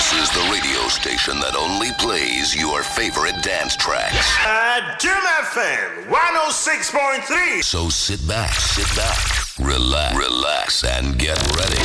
This is the radio station that only plays your favorite dance tracks. Adom FM 106.3. So sit back, sit back, relax, relax, and get ready.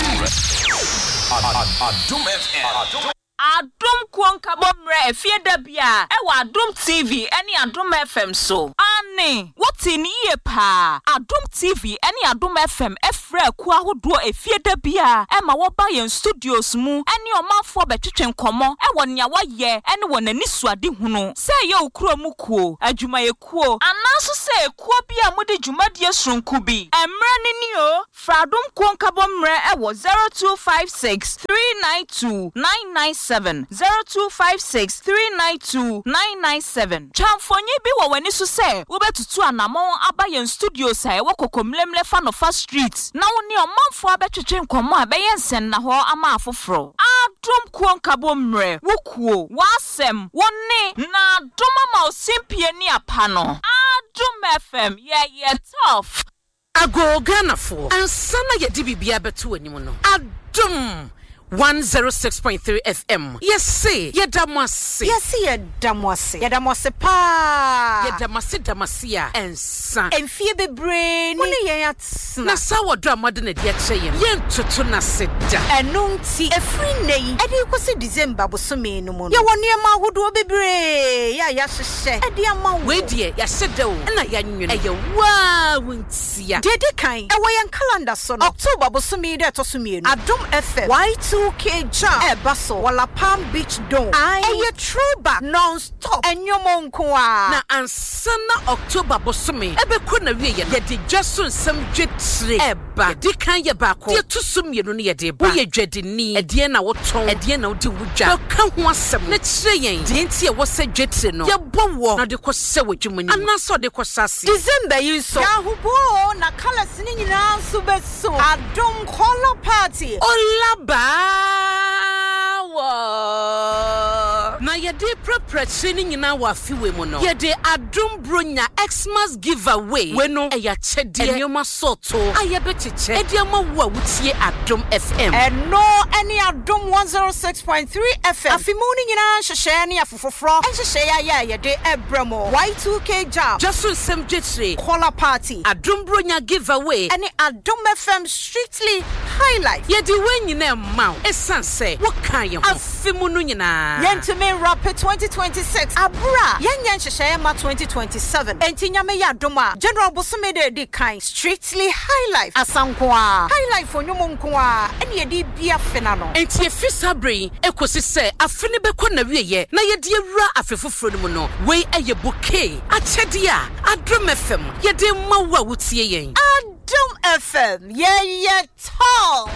Adom FM. Adom kuo nkabɔ mmerɛ efie da bia ɛwɔ Adom TV ɛne Adom FM so. Aane, wote ne yie paa. Adom TV ɛne Adom FM ɛfrɛ akuo ahodoɔ efie da bia ɛma wɔba yɛn studios mu ɛne ɔmanfoɔ bɛtwetwe nkɔmmɔ ɛwɔ nea wɔyɛ ɛne wɔn ani suade hunu. Sɛ ɛyɛ wo kuro mu kuo, adwumayɛkuo, anaa nso sɛ ekuo bi a mode dwumadie soronko bi. Mmerɛ ne ni o. Fra Adom kuo nkabɔ mmerɛ ɛwɔ 0256 392 997, 0256 392 997. Twa mfonyin bi wɔ w'ani so sɛ wobɛtutu anammɔn aba yɛn studios a ɛwɔ Kokomlemle fa Nofa Street na wo ne ɔmanfoɔ abɛtwetwe nkɔmmɔ a ɛbɛyɛ nsɛnnahɔ ama afoforɔ. Adom kuo nkabɔ mmerɛ, wo kuo, w'asɛm, wo ne, na adom ama wo simpie ne apa no. Adom FM, yɛyɛ tough. Ago Ghanafoɔ, ansa na yɛde biribiara bɛto anim no, Adom 106.3 FM, yɛse yɛda mo ase. Yɛse yɛda mo ase. Yɛda mo ase paa. Yɛda mo ase da mo ase a ɛnsa. Mfie bebree ni mo ne yɛn atena. Na saa wɔdɔ a moade no adi akyerɛ yɛn, yɛntoto n'ase da. Ɛno nti, ɛfiri nnɛ yi ɛde rekɔsi December bosome no mu no, yɛwɔ nneɛma ahodoɔ bebree a yɛahyehyɛ de ama wo. Wei deɛ, yɛahyɛ da o, ɛna yɛanwene. Ɛyɛ wo ara wo ntia. Deɛ ɛdi kan, ɛwɔ yɛn calendar so no, October bosome yi da ɛtɔ so 2, Adom FM Y2K Jam ɛreba so wɔ La Palm Beach Dome. Ae, ɛyɛ throwback, non-stop, nnwom nko ara. Na ansa na October bosome ɛbɛkɔ n'awieeɛ no, yɛde dwa so nsɛm dwetire ɛreba. Deɛ ɛdi kan yɛ baako, deɛ ɛto so mmienu no yɛde reba. Woyɛ dwadini, ɛdeɛn na wotɔn, ɛdeɛn na wode wo dwa? Bɛka ho asɛm na kyerɛ yɛn deɛ nti a ɛwɔ sɛ dwetire no yɛbɔ woɔ na wode kɔhyɛ w'adwuma no mu anaasɛ wode kɔhyɛ aseɛ. December yi nso, yɛn ahoboa o, na colours no nyinaa nso bɛso. Adom Colour Party. Ola baa wɔ. Na yɛde reprapra akyire no nyinaa wɔ afe wei mu no, yɛde Adom Bronya Xmas Giveaway. Wei no, ɛyɛ akyɛdeɛ, nneɛma sɔɔtoo a yɛbɛkyekyɛ de ama wo a wotie Adom FM. Ɛno ne Adom 106.3 FM afe mu no nyinaa nhyehyɛɛ ne afe foforɔ nhyehyɛeɛ a yɛ a yɛde rebrɛ mo. Y2K Jam. Dwa so nsɛm dwetire. Colour Party. Adom Bronya Giveaway. Ɛne Adom FM Strictly Highlife. Yɛde wei nyinaa rema wo ɛsiane sɛ wokaa yɛn ho afe mu no nyinaa. Yɛntumi nrape 2026 aberɛ a yɛnyɛ nhyehyɛeɛ mma 2027. Enti Nyame yɛ adom a, January bosome da a ɛdi kan, Strictly Highlife asa nko ara, Highlife nnwom nko ara ɛne yɛde redi afe no ano. Enti ɛfiri saa berɛ yi kɔsi sɛ afe no bɛkɔ n'awieeɛ na yɛde awura afe foforɔ no mu no, wei yɛ bouquet akyɛdeɛ a Adom FM yɛde rema wo a wotie yɛn. Adom FM, yɛyɛ tough!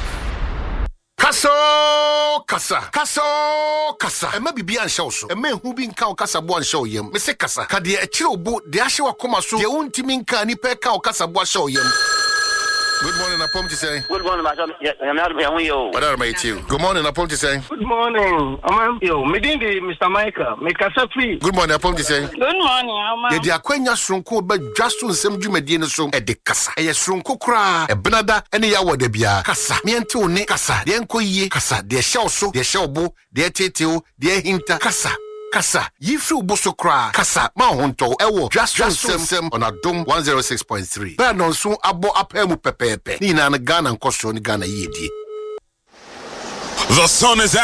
Kasa oo kasa, kasa oo kasa. Ɛmma biribiara nhyɛ wo so, ɛmma ehu bi nka wo kasaboa nhyɛ wo yam. Mese kasa, ka deɛ ɛkyere wo bo, deɛ ahyɛ w'akoma so, deɛ wontumi nka a nnipa ɛka wo kasaboa hyɛ wo yam. Good morning, Apom te sɛn? Good morning, Pastor. Nyame adom yɛn ho yɛ o. Ɔdarema yɛ tie o. Good morning, Apom te sɛn? Good morning, ɔman bio. Me din de Mr. Michael. Me kasa firi. Good morning, Apom te sɛn? Good morning, ɔman. Yɛde akwanya soronko ba dwa so nsɛm dwumadie no so de kasa. Ɛyɛ soronko koraa. Ɛbenada ne Yawoɔ da biara. Kasa na yɛnte wo nne. Kasa deɛ ɛnkɔ yie. Kasa deɛ ɛhyɛ wo so, deɛ ɛhyɛ wo bo, deɛ ɛteetee wo, deɛ ahinta. Kasa, kasa, yi firi wo bo so koraa. Kasa ma wo ho ntɔ wo ɛwɔ Dwa So Nsɛm on Adom 106.3. Berɛ a nnɔnson abɔ apaa mu pɛpɛɛpɛ. Ne nyinaa no Ghana nkɔsoɔ ne Ghana yiedie. The sun is out.